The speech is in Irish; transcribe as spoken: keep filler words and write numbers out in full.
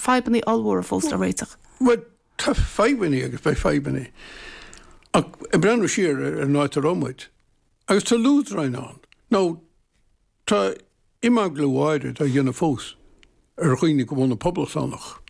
fadhbanna ollmhóra fós le réiteach. Well, tá fadhbanna agus beidh fadhbanna. Ach ag breathnú siar ar an áit a raibh muid. Agus tá lúdráin ann. Nó tá imeaglú áirid á dhéanamh fós ar dhaoine go bhfuil poblachtánach.